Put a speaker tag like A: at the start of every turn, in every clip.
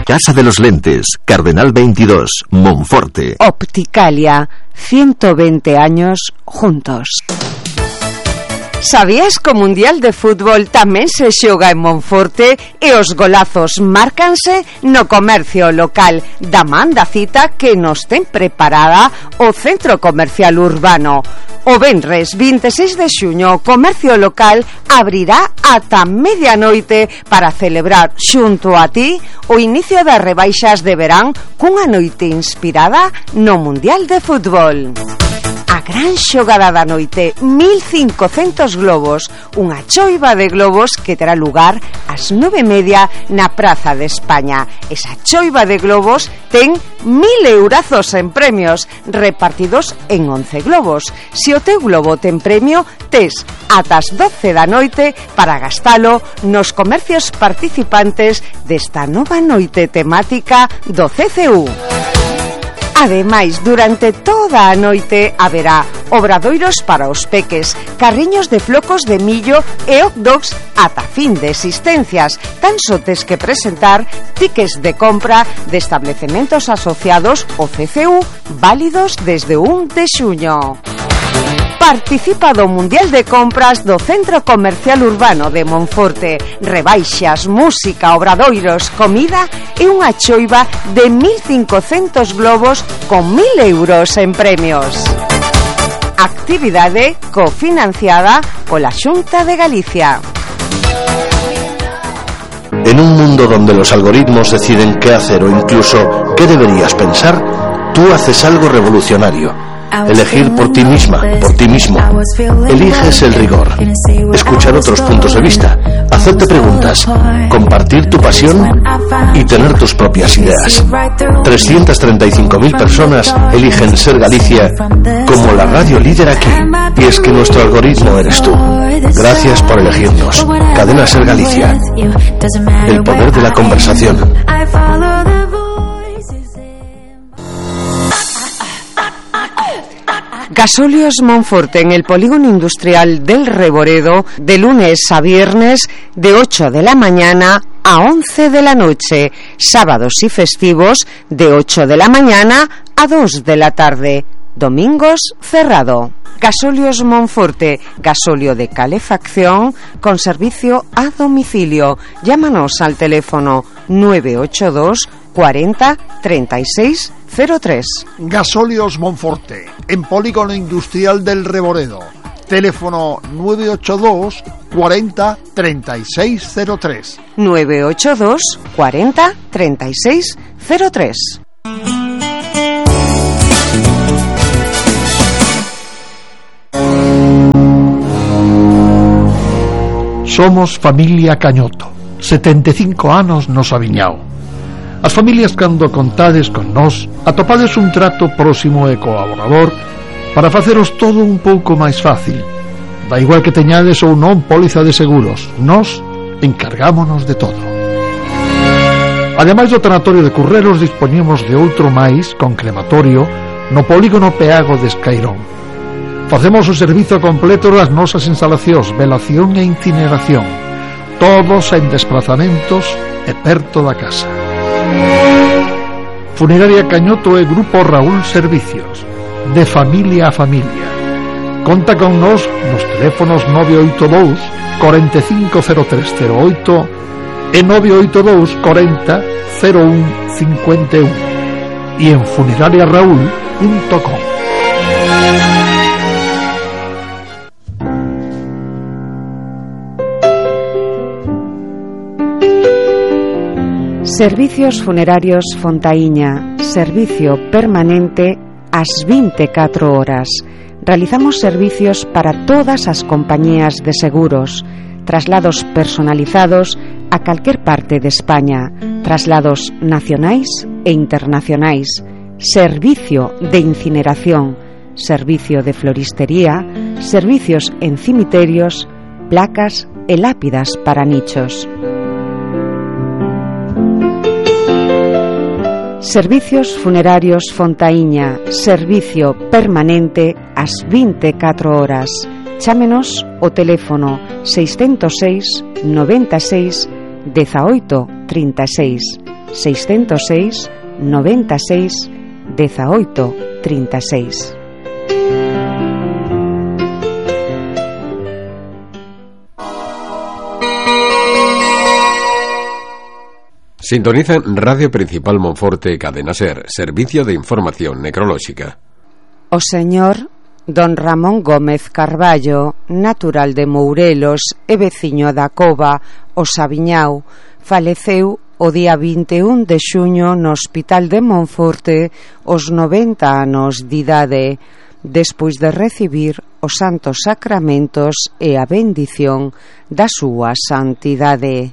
A: Casa de los Lentes, Cardenal 22, Monforte.
B: Opticalia, 120 años juntos. Sabías que o Mundial de Fútbol tamén se xoga en Monforte e os golazos márcanse no comercio local da man da cita que nos ten preparada o Centro Comercial Urbano. O venres 26 de xuño o comercio local abrirá ata medianoite para celebrar xunto a ti o inicio das rebaixas de verán cunha noite inspirada no Mundial de Fútbol. A gran xogada da noite, 1500 globos, unha choiva de globos que terá lugar ás 9:30 na Praza de España. Esa choiva de globos ten 1000 eurazos en premios, repartidos en 11 globos. Se o teu globo ten premio, tes ata as 12 da noite para gastalo nos comercios participantes desta nova noite temática do CCU. Ademais, durante toda a noite haberá obradoiros para os peques, carriños de flocos de millo e hot dogs ata fin de existencias. Tan só tes que presentar tickets de compra de establecementos asociados ao CCU válidos desde 1 de xuño. Participa do Mundial de Compras do Centro Comercial Urbano de Monforte. Rebaixas, música, obradoiros, comida e unha choiva de 1500 globos con 1000 euros en premios. Actividade cofinanciada pola Xunta de Galicia.
C: En un mundo donde los algoritmos deciden qué hacer o incluso qué deberías pensar, tú haces algo revolucionario. Elegir por ti misma, por ti mismo. Eliges el rigor, escuchar otros puntos de vista, hacerte preguntas, compartir tu pasión y tener tus propias ideas. 335.000 personas eligen ser Galicia como la radio líder aquí. Y es que nuestro algoritmo eres tú. Gracias por elegirnos. Cadena Ser Galicia. El poder de la conversación.
B: Gasóleos Monforte en el polígono industrial del Reboredo, de lunes a viernes de 8 de la mañana a 11 de la noche, sábados y festivos de 8 de la mañana a 2 de la tarde, domingos cerrado. Gasóleos Monforte, gasóleo de calefacción con servicio a domicilio. Llámanos al teléfono 982 40 36 03.
D: Gasóleos Monforte, en polígono industrial del Reboredo. Teléfono 982 40 36 03.
B: 982 40 36 03.
E: Somos familia Cañoto, 75 anos nos aviñao. As familias cando contades con nós, atopades un trato próximo e colaborador para faceros todo un pouco máis fácil. Da igual que teñades ou non póliza de seguros, nós encargámonos de todo. Ademais do tanatorio de Curreros, dispoñemos de outro máis con crematorio no polígono Peago de Escairón. Facemos o servizo completo das nosas instalacións, velación e incineración, todos en desplazamentos e perto da casa. Funeraria Cañoto e Grupo Raúl Servicios, de familia a familia. Conta con nos nos teléfonos 982 450308 e 982 40 01 51 e en funerariaraúl.com.
B: Servicios Funerarios Fontaíña, servicio permanente ás 24 horas. Realizamos servicios para todas as compañías de seguros, traslados personalizados a calquer parte de España, traslados nacionais e internacionais, servicio de incineración, servicio de floristería, servicios en cimiterios, placas e lápidas para nichos. Servicios Funerarios Fontaíña, servicio permanente ás 24 horas. Chámenos o teléfono 606 96 18 36, 606 96 18 36.
F: Sintonizan Radio Principal Monforte, Cadena Ser, Servicio de Información Necrolóxica.
B: O señor don Ramón Gómez Carballo, natural de Mourelos e veciño da Cova, o Sabiñao, faleceu o día 21 de xuño no Hospital de Monforte aos 90 anos de idade, despois de recibir os santos sacramentos e a bendición da súa santidade.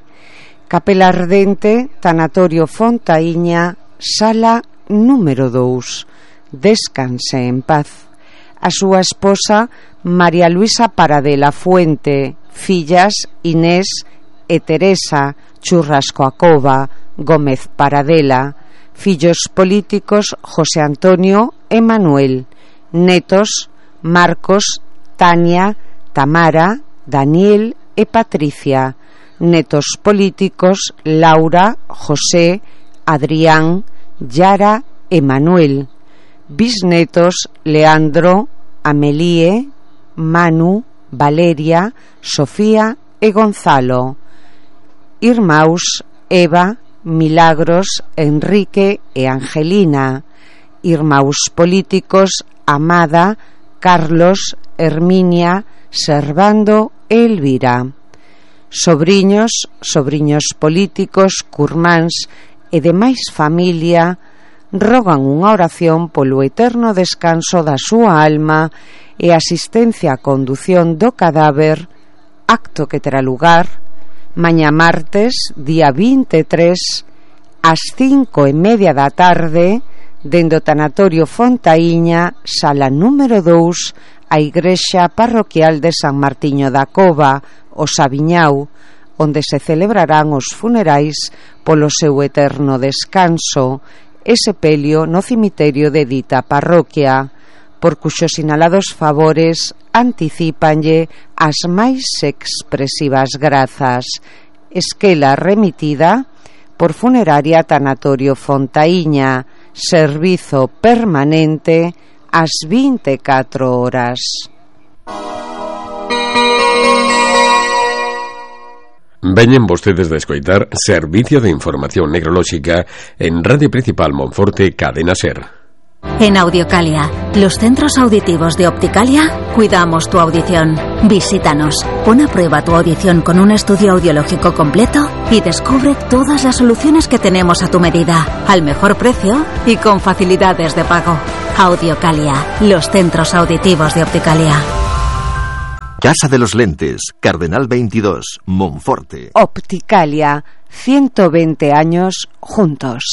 B: Capela Ardente, Tanatorio Fontaíña, sala número 2. Descanse en paz. A súa esposa, María Luisa Paradela Fuente, fillas Inés e Teresa Churrasco Acova Gómez Paradela, fillos políticos José Antonio e Manuel, netos Marcos, Tania, Tamara, Daniel e Patricia, netos políticos Laura, José, Adrián, Yara e Manuel, bisnetos Leandro, Amelie, Manu, Valeria, Sofía e Gonzalo, irmãos Eva, Milagros, Enrique e Angelina, irmãos políticos Amada, Carlos, Herminia, Servando e Elvira, sobriños políticos, curmáns e demais familia rogan unha oración polo eterno descanso da súa alma e asistencia a condución do cadáver, acto que terá lugar mañá martes, día 23 ás 5:30 da tarde dende o Tanatorio Fontaíña, sala número 2, a Igrexa Parroquial de San Martiño da Cova, o Sabiñao, onde se celebrarán os funerais polo seu eterno descanso e sepelio no cemiterio de dita parroquia, por cuxos sinalados favores anticípanlle as máis expresivas grazas. Esquela remitida por Funeraria Tanatorio Fontaíña, servizo permanente ás 24 horas.
F: Veñen vostedes de escoitar Servicio de Información Necrolóxica en Radio Principal Monforte, Cadena Ser.
G: En Audiocalia, los centros auditivos de Opticalia, cuidamos tu audición. Visítanos, pon a prueba tu audición con un estudio audiológico completo y descubre todas las soluciones que tenemos a tu medida, al mejor precio y con facilidades de pago. Audiocalia, los centros auditivos de Opticalia.
A: Casa de los Lentes, Cardenal 22, Monforte.
B: Opticalia, 120 años juntos.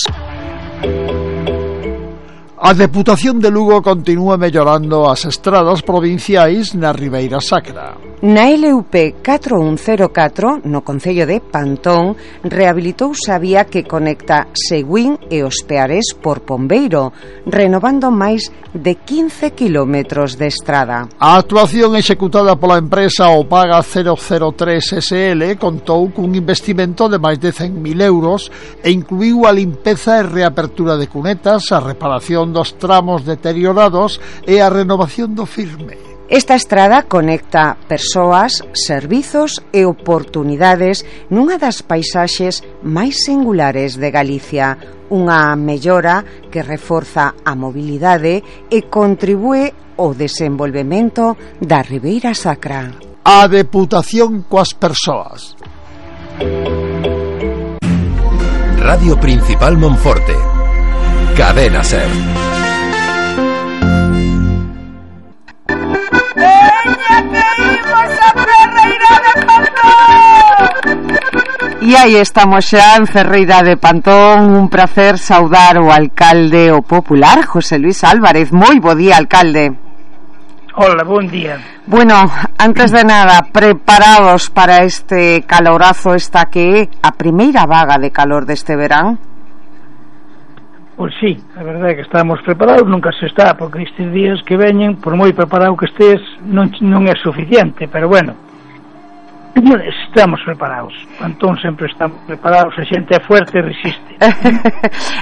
D: A Deputación de Lugo continúa mellorando as estradas provinciais na Ribeira Sacra.
B: Na LUP 4104, no concello de Pantón, rehabilitouse a vía que conecta Seguín e Os Peares por Pombeiro, renovando máis de 15 kilómetros de estrada.
D: A actuación executada pola empresa Opaga 003 SL contou cun investimento de máis de 100.000 euros e incluiu a limpeza e reapertura de cunetas, a reparación dos tramos deteriorados e a renovación do firme.
B: Esta estrada conecta persoas, servizos e oportunidades nunha das paisaxes máis singulares de Galicia, unha mellora que reforza a mobilidade e contribúe ao desenvolvemento da Ribeira Sacra.
D: A Deputación coas persoas.
H: Radio Principal Monforte, Cadena Ser.
B: E aí estamos xa en Ferreira de Pantón. Un placer saudar o alcalde o popular, José Luis Álvarez. Moi bo día, alcalde.
I: Hola, bon día.
B: Bueno, antes de nada, preparados para este calorazo, esta que é a primeira vaga de calor deste verán?
I: Pois sí, a verdade é que estamos preparados, nunca se está, porque estes días que veñen, por moi preparado que estés, non é suficiente, pero bueno, Estamos preparados. Pantón sempre estamos preparados. A xente é fuerte e resiste.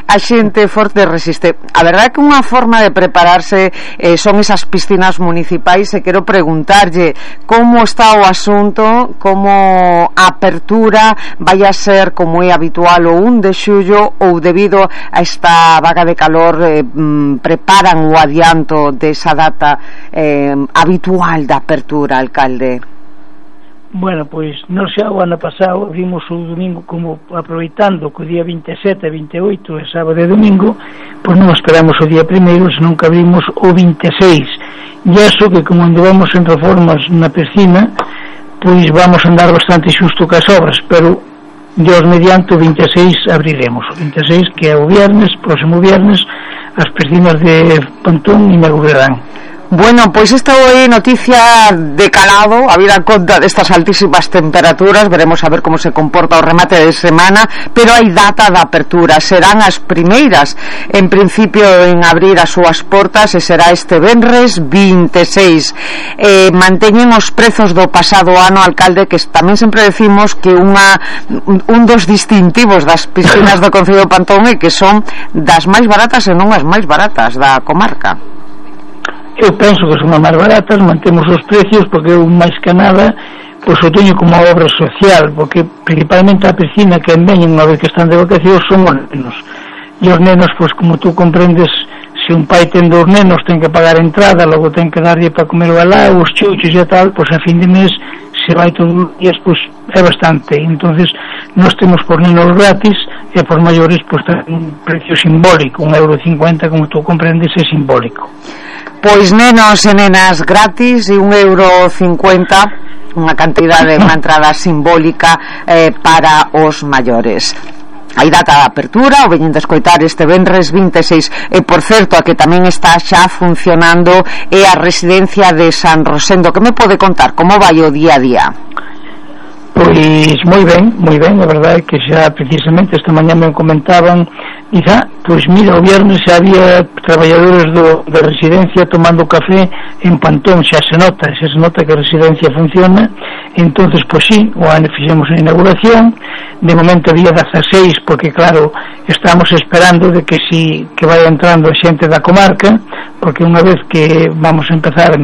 B: A xente forte resiste. A verdade é que unha forma de prepararse son esas piscinas municipais, e quero preguntarlle como está o asunto, como a apertura vai a ser como é habitual o 1 de xullo, ou debido a esta vaga de calor preparan o adianto desa data habitual da apertura, alcalde?
I: Bueno, pois nós xa o ano pasado vimos o domingo, como aproveitando que o día 27, 28 é sábado e domingo, pois non esperamos o día primeiro, senón que abrimos o 26, e eso que como andamos en reformas na piscina, pois vamos andar bastante xusto cas obras, pero Dios mediante o 26 abriremos, o 26 que é o viernes, próximo viernes, as piscinas de Pantón inaugurarán.
B: Bueno, pois esta é noticia de calado, a vida conta destas altísimas temperaturas. Veremos a ver como se comporta o remate de semana, pero hai data da apertura, serán as primeiras en principio en abrir as súas portas, e será este venres 26. Manteñen os prezos do pasado ano, alcalde, que tamén sempre decimos que un dos distintivos das piscinas do Concello de Pantón é que son das máis baratas e non as máis baratas da comarca.
I: Eu penso que son as máis baratas, mantemos os precios porque eu máis que nada pois o teño como obra social, porque principalmente a piscina que veñen unha vez que están de vacacións son os nenos, e os nenos, pois como tú comprendes, se un pai ten dos nenos ten que pagar a entrada, logo ten que darlle para comer o alá, os chuchos e tal, pois a fin de mes se vai todos os días, pois é bastante. Entonces nós temos por nenos gratis e por maiores pois un precio simbólico, 1,50 €, como tú comprendes, é simbólico.
B: Pois nenos e nenas gratis e 1,50 €, unha cantidade, unha entrada simbólica para os maiores. Hai data de apertura, o veñen de escoitar este venres 26. E por certo, a que tamén está xa funcionando é a residencia de San Rosendo. Que me pode contar? Como vai o día a día?
I: Pois moi ben, a verdade é que xa precisamente esta mañá me comentaban, quizá, pois mira, o viernes xa había traballadores da residencia tomando café en Pantón, xa se nota que a residencia funciona. Entonces, pois sí, o ano fixemos a inauguración, de momento había 16, porque claro, estamos esperando de que vaya entrando a xente da comarca, porque unha vez que van a empezar a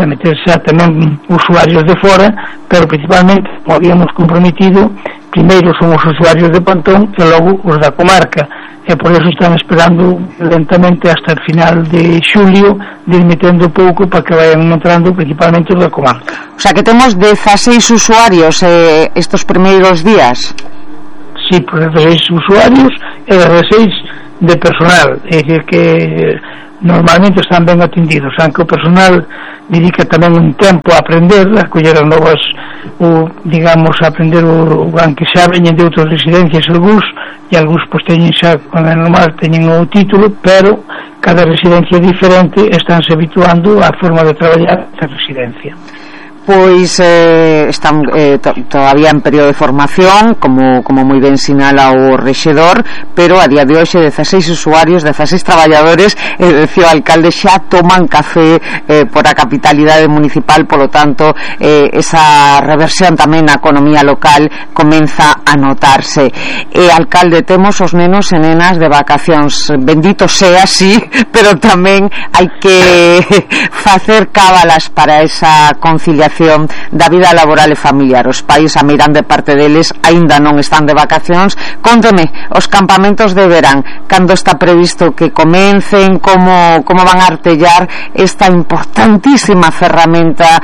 I: meter xa tamén usuarios de fora, pero principalmente, como habíamos comprometido, primeiro son os usuarios de Pantón e logo os da comarca, e por eso están esperando lentamente hasta el final de xulio de ir metendo pouco para que vayan entrando principalmente os da comarca.
B: O sea que temos 16 usuarios estos primeiros días.
I: Sí, pues 16 usuarios e 16 de personal, é dicir que normalmente están ben atendidos, aunque o personal dedica tamén un tempo a aprender, a coller as novas, digamos, a aprender aunque xa veñen de outras residencias algúns, e algúns pois teñen xa, quando é normal, teñen o título, pero cada residencia é diferente, estánse habituando á forma de traballar esta residencia.
B: Pois están todavía en período de formación, como moi ben sinala o rexedor, pero a día de hoxe 16 usuarios, 16 traballadores, decía o alcalde, xa toman café por a capitalidade municipal, polo tanto esa reversión tamén na economía local comeza a notarse. Alcalde, temos os nenos e nenas de vacacións, bendito sea, sí, pero tamén hai que facer cábalas para esa conciliación da vida laboral e familiar. Os pais, a meirande parte deles, aínda non están de vacacións. Cónteme, os campamentos de verán, cando está previsto que comencen, como van a artellar esta importantísima ferramenta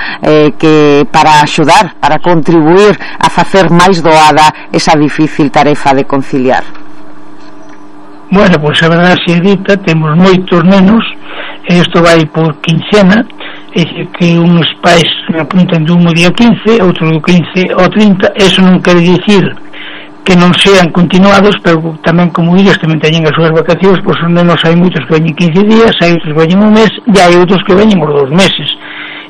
B: que para axudar, para contribuir a facer máis doada esa difícil tarefa de conciliar?
I: Bueno, pois a verdade se dita, temos moitos nenos, e isto vai por quincena, é dicir que uns pais apuntan de un día 15, outro do 15 ao 30, eso non quere dicir que non sean continuados, pero tamén, como digas, tamén teñen as súas vacacións, pois os nenos hai moitos que veñen 15 días, hai outros que veñen un mes, e hai outros que veñen os 2 meses.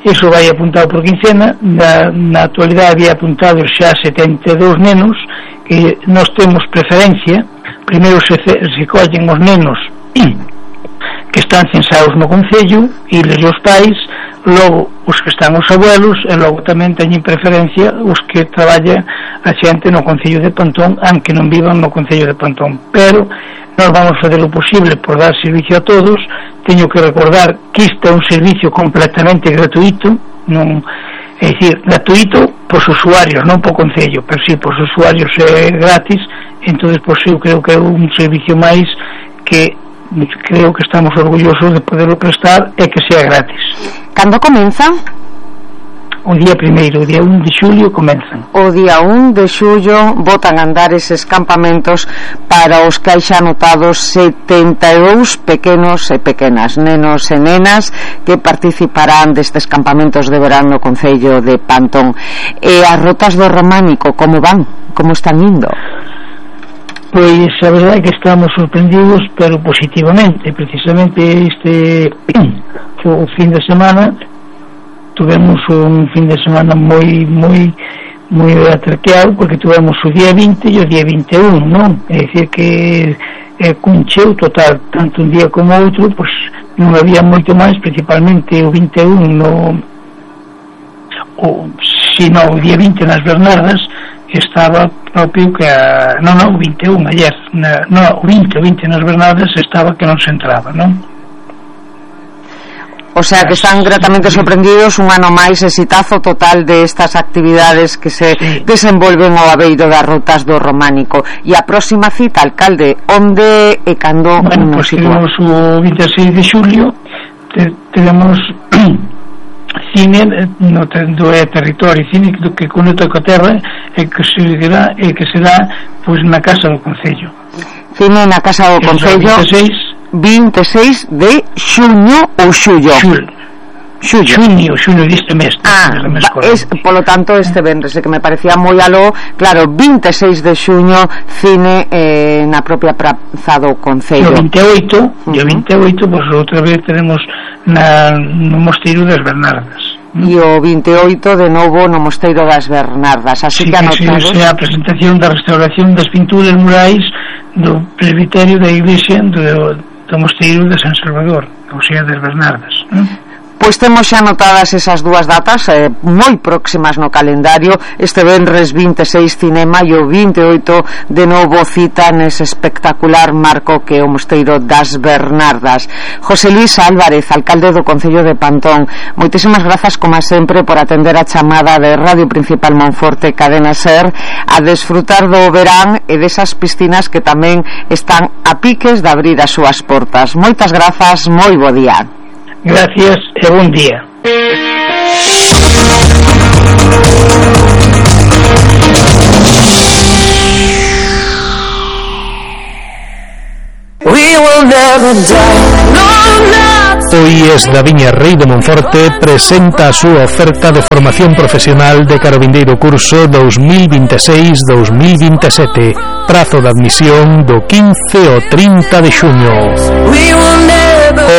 I: Eso vai apuntado por quincena. Na actualidade había apuntados xa 72 nenos, que nós temos preferencia. Primeiro se collen os nenos que están censados no Concello, e os pais, logo os que están os abuelos, e logo tamén teñen preferencia os que traballa a xente no Concello de Pantón, aunque non vivan no Concello de Pantón. Pero nós vamos fazer o posible por dar servicio a todos. Teño que recordar que isto é un servicio completamente gratuito, non, é dicir, gratuito pos usuarios, non po Concello, pero si pos usuarios é gratis. Entonces, pois eu creo que é un servicio máis que creo que estamos orgullosos de poderlo prestar e que sea gratis.
B: Cando comeza?
I: O día 1º, o día 1 de xulio comenzan.
B: O día 1 de xullo botan a andar eses campamentos para os que hai xa anotados 72 pequenos e pequenas, nenos e nenas que participarán destes campamentos de verán no Concello de Pantón. E as rotas do Románico, como van? Como están indo?
I: Pois a verdade é que estamos sorprendidos, pero positivamente. Precisamente este o fin de semana tuvemos un fin de semana moi atraqueado, porque tuvemos o día 20 e o día 21, non? É dicir que cun cheo total, tanto un día como outro, pois non había moito máis, principalmente o 21 o día 20 nas Bernardas estaba propio que o 21 ayer, o 20 nas Bernardas estaba que non se entraba, non?
B: O sea que están gratamente sorprendidos, un ano máis, exitazo total de estas actividades que se desenvolven ao abeiro das rotas do Románico. E a próxima cita, alcalde, onde e cando?
I: Bueno, pois temos o 26 de xulio, tenemos cine no territorio, cine que conecta coa terra e que será pois na Casa do Concello.
B: Cine na Casa do Concello 26 de xuño ou xullo?
I: Xuño deste mes.
B: Polo tanto este venres, que me parecía moi aló. Claro, 26 de xuño cine na propia Praza do Concello.
I: E o 28 pois outra vez tenemos no Mosteiro das Bernardas.
B: E o 28 de novo no Mosteiro das Bernardas. Así que anotados.
I: É a presentación da restauración das pinturas murais do presbiterio da iglesia do Mosteiro de San Salvador, ou sea, das Bernardas.
B: Pois temos xa anotadas esas dúas datas moi próximas no calendario. Este venres 26 cinema e o 28 de novo cita nese espectacular marco que é o Mosteiro das Bernardas. José Luis Álvarez, alcalde do Concello de Pantón, moitísimas grazas como sempre por atender a chamada de Radio Principal Monforte Cadena Ser, a desfrutar do verán e desas piscinas que tamén están a piques de abrir as súas portas. Moitas grazas, moi bo día.
I: Gracias e bon día.
E: Hoy es Daviña Rei de Monforte presenta a súa oferta de formación profesional de carabindeiro curso 2026-2027, prazo de admisión do 15 ao 30 de xuño.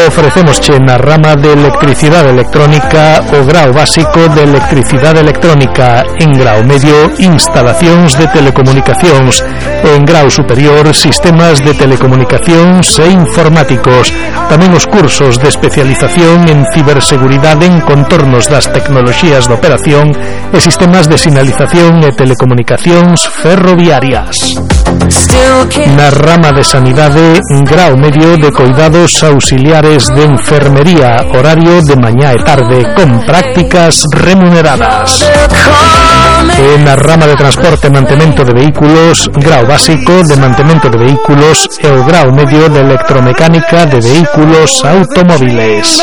E: Ofrecemosche na rama de electricidade electrónica o grao básico de electricidade electrónica, en grao medio instalacións de telecomunicacións, en grao superior sistemas de telecomunicacións e informáticos, tamén os cursos de especialización en ciberseguridade en contornos das tecnoloxías de operación e sistemas de sinalización e telecomunicacións ferroviarias. Na rama de sanidade, grao medio de cuidados auxiliares de enfermería, horario de mañá e tarde, con prácticas remuneradas. E na rama de transporte e mantemento de vehículos, grao básico de mantemento de vehículos e o grao medio de electromecánica de vehículos automóviles.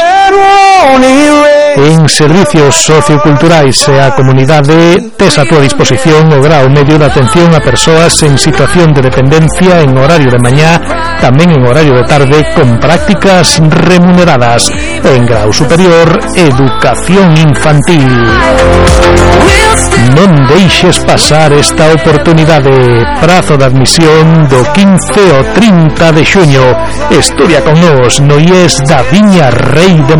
E: En servicios socioculturais e a comunidade tes a túa disposición o grao medio de atención a persoas en situación de dependencia en horario de mañá, tamén en horario de tarde, con prácticas remuneradas. En grao superior, educación infantil. Non deixes pasar esta oportunidade. Prazo de admisión do 15 ao 30 de xuño. Estudia con nós no IES Daviña Rei de